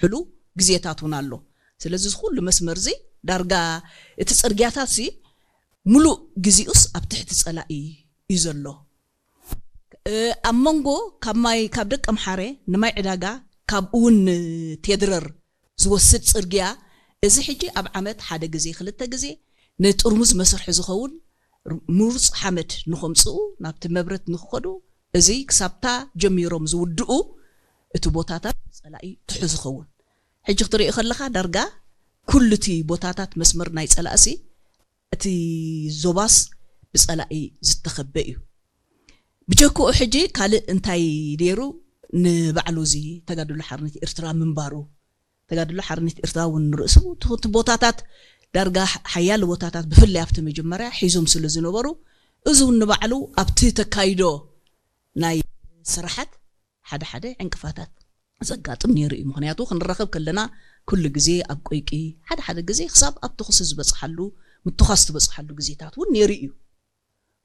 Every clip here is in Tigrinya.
ዝውሕሉ ግዜታት እውን ኣሎ። ስለዚ እዚ ኩሉ መስመር እዚ ዳርጋ እቲ ጽርግያታት ሲ ሙሉእ ግዜኡስ ኣብ ትሕቲ ጸላኢ እዩ ዘሎ። ኣብ መንጎ ካብ ማይ ካብ ደቀምሓረ ንማይ ዕዳጋ፣ ካብኡ እውን ንቴድረር ዝወስድ ጽርግያ፣ እዚ ሕጂ ኣብ ዓመት ሓደ ግዜ ክልተ ግዜ ንጥርሙዝ መስርሒ ዝኸውን ምሩፅ ሓመድ ንኸምፅኡ፣ ናብቲ መብረት ንክኸዱ፣ እዚ ክሳብታ ጀሚሮም ዝውድኡ እቲ ቦታታት ጸላኢ ትሑዝ ይኸውን። ሕጂ ክትሪኦ ከለኻ ዳርጋ ኩሉ እቲ ቦታታት መስመር ናይ ጸላእሲ እቲ ዞባስ ብጸላኢ ዝተኸበ እዩ። ብጀክኡ ሕጂ ካልእ እንታይ ነይሩ? ንባዕሉ እዚ ተጋድሎ ሓርነት ኤርትራ ምንባሩ፣ ተጋድሎ ሓርነት ኤርትራ እውን ንርእሱ እቲ ቦታታት ዳርጋ ሓያለ ቦታታት ብፍላይ ኣብቲ መጀመርያ ሒዞም ስለ ዝነበሩ፣ እዚ እውን ንባዕሉ ኣብቲ ተካይዶ ናይ ስራሓት ሓደ ሓደ ዕንቅፋታት ዘጋጥም ነይሩ እዩ። ምክንያቱ ክንራኸብ ከለና ኩሉ ግዜ ኣብ ቆይቂ፣ ሓደ ሓደ ግዜ ክሳብ ኣብ ተኹሲ ዝበፅሓሉ፣ ምትኳስ ዝበፅሓሉ ግዜታት እውን ነይሩ እዩ።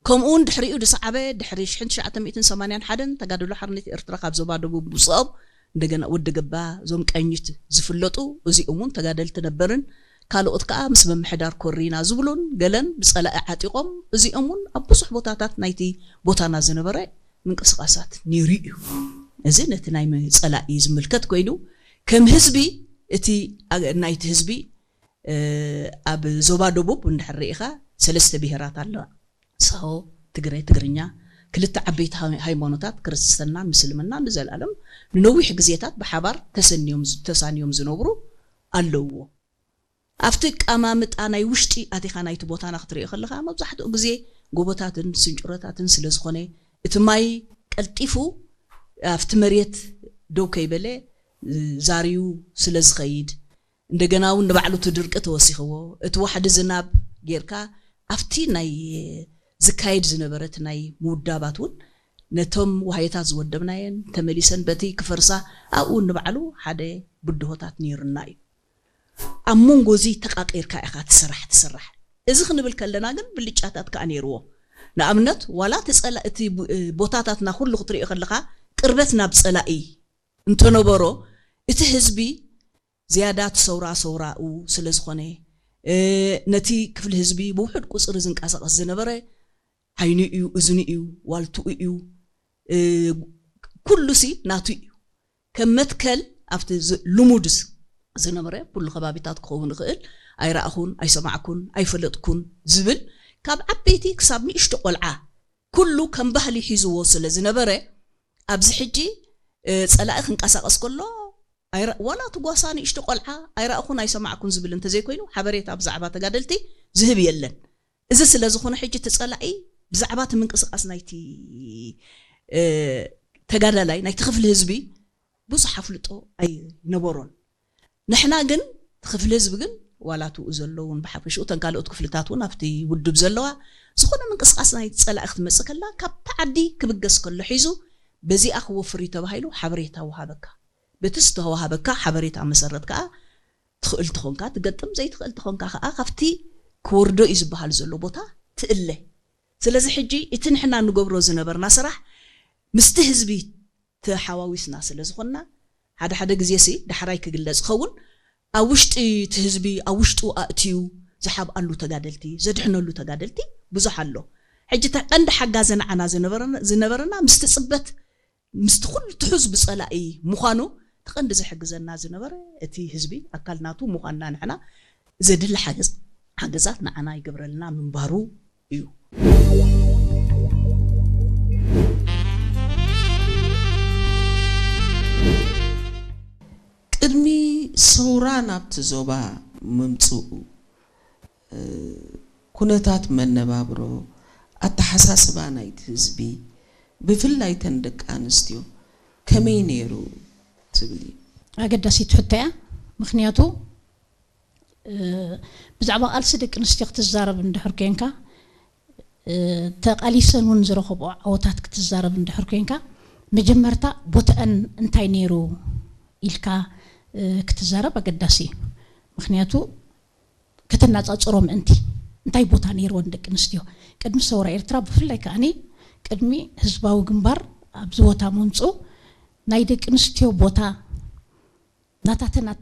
ከምኡ እውን ድሕሪኡ ዝሰዓበ፣ ድሕሪ ሽሕን ትሽዓተ ሚእትን ሰማንያን ሓደን ተጋድሎ ሓርነት ኤርትራ ካብ ዞባ ደቡብ ምስኦም እንደገና ወዲ ገባ፣ እዞም ቀኝት ዝፍለጡ፣ እዚኦም እውን ተጋደልቲ ነበርን፣ ካልኦት ከዓ ምስ ምምሕዳር ኮሪና ዝብሉን ገለን ብጸላኢ ዓጢቖም፣ እዚኦም እውን ኣብ ብዙሕ ቦታታት ናይቲ ቦታና ዝነበረ ምንቅስቃሳት ነይሩ እዩ። እዚ ነቲ ናይ ጸላኢ ዝምልከት ኮይኑ፣ ከም ህዝቢ እቲ ናይቲ ህዝቢ ኣብ ዞባ ደቡብ እንድሕር ርኢኻ ሰለስተ ብሄራት ኣለዋ። ሳሆ፣ ትግረ፣ ትግርኛ፣ ክልተ ዓበይቲ ሃይማኖታት ክርስትናን ምስልምናን ንዘለኣለም ንነዊሕ ግዜታት ብሓባር ተሰንዮም ተሳንዮም ዝነብሩ ኣለውዎ። ኣብቲ ኣቀማምጣ ናይ ውሽጢ ኣቲኻ ናይቲ ቦታና ክትሪኦ ከለኻ መብዛሕትኡ ግዜ ጎቦታትን ስንጭሮታትን ስለ ዝኾነ እቲ ማይ ቀልጢፉ ኣብቲ መሬት ደው ከይበለ ዛርዩ ስለ ዝኸይድ እንደገና እውን ንባዕሉ እቲ ድርቂ ተወሲኽዎ እቲ ዋሕዲ ዝናብ ጌርካ ኣብቲ ናይ ዝካየድ ዝነበረ እቲ ናይ ምውዳባት እውን ነቶም ዋህዮታት ዝወደብናየን ተመሊሰን በቲ ክፈርሳ ኣብኡ ንባዕሉ ሓደ ብድሆታት ነይሩና እዩ። ኣብ መንጎ እዚ ተቃቂርካ ኢኻ ትስራሕ ትስራሕ። እዚ ክንብል ከለና ግን ብልጫታት ከዓ ነይርዎ። ንኣብነት ዋላ እቲ ቦታታትና ኩሉ ክትሪኦ ከለካ ቅርበት ናብ ፀላኢ እንተነበሮ እቲ ህዝቢ ዝያዳ እቲ ሰውራ ሰውራኡ ስለ ዝኾነ ነቲ ክፍሊ ህዝቢ ብውሑድ ቁፅሪ ዝንቀሳቐስ ዝነበረ ዓይኑ እዩ፣ እዝኑ እዩ፣ ዋልትኡ እዩ፣ ኩሉሲ ናቱ እዩ። ከም መትከል ኣብቲ ልሙድ ዝነበረ ኩሉ ከባቢታት ክኸውን ይኽእል ኣይረኣኹን፣ ኣይሰማዕኩን፣ ኣይፈለጥኩን ዝብል ካብ ዓበይቲ ክሳብ ንእሽቶ ቆልዓ ኩሉ ከም ባህሊ ሒዝዎ ስለ ዝነበረ ኣብዚ ሕጂ ጸላኢ ክንቀሳቐስ ከሎ ዋላ እቲ ጓሳ ንእሽቶ ቆልዓ ኣይረኣኹን ኣይሰማዕኩን ዝብል እንተዘይኮይኑ ሓበሬታ ብዛዕባ ተጋደልቲ ዝህብ የለን። እዚ ስለ ዝኾነ ሕጂ እቲ ጸላኢ ብዛዕባ እቲ ምንቅስቃስ ናይቲ ተጋዳላይ ናይቲ ክፍሊ ህዝቢ ብዙሕ ኣፍልጦ ኣይነበሮን። ንሕና ግን ክፍሊ ህዝቢ ግን ዋላ ትኡ ዘለውን ብሓፈሽኡ እተን ካልኦት ክፍልታት እውን ኣብቲ ውድብ ዘለዋ ዝኾነ ምንቅስቃስ ናይ ጸላኢ ክትመጽእ ከላ ካብቲ ዓዲ ክብገስ ከሎ ሒዙ በዚኣ ክወፍር እዩ ተባሂሉ ሓበሬታ ወሃበካ። በቲ ዝተዋሃበካ ሓበሬታ መሰረት ከዓ ትኽእል ተኾንካ ትገጥም፣ ዘይትኽእል ተኾንካ ከዓ ካብቲ ክወርዶ እዩ ዝበሃል ዘሎ ቦታ ትእለ። ስለዚ ሕጂ እቲ ንሕና ንገብሮ ዝነበርና ስራሕ ምስቲ ህዝቢ ተሓዋዊስና ስለ ዝኾንና ሓደ ሓደ ግዜ ሲ ዳሕራይ ክግለጽ ይኸውን ኣብ ውሽጢ እቲ ህዝቢ ኣብ ውሽጡ ኣእትዩ ዝሓብኣሉ ተጋደልቲ ዘድሕነሉ ተጋደልቲ ብዙሕ ኣሎ። ሕጂ እቲ ቀንዲ ሓጋዚ ንዓና ዝነበረና ምስቲ ጽበት ምስቲ ኩሉ ትሑዝ ብጸላኢ ምዃኑ እቲ ቀንዲ ዝሕግዘና ዝነበረ እቲ ህዝቢ ኣካል ናቱ ምዃንና ንሕና ዘድሊ ሓገዝ ሓገዛት ንዓና ይገብረልና ምንባሩ እዩ። ቅድሚ ሰውራ ናብቲ ዞባ ምምፅኡ ኩነታት መነባብሮ ኣተሓሳስባ ናይቲ ህዝቢ ብፍላይ ተን ደቂ ኣንስትዮ ከመይ ነይሩ ትብሊ? ኣገዳሲት ሕቶ እያ። ምክንያቱ ብዛዕባ ቃልሲ ደቂ ኣንስትዮ ክትዛረብ እንድሕር ኮንካ ተቓሊሰን እውን ዝረኸብኦ ዓወታት ክትዛረብ እንድሕር ኮንካ መጀመርታ ቦትአን እንታይ ነይሩ ኢልካ ክትዛረብ ኣገዳሲ እዩ። ምክንያቱ ከተናፃፅሮ ምእንቲ እንታይ ቦታ ነይርወን ደቂ ኣንስትዮ ቅድሚ ሰውራ ኤርትራ ብፍላይ ከዓኒ ቅድሚ ህዝባዊ ግንባር ኣብዚ ቦታ ምምፅኡ ናይ ደቂ ኣንስትዮ ቦታ ናታተን ኣታ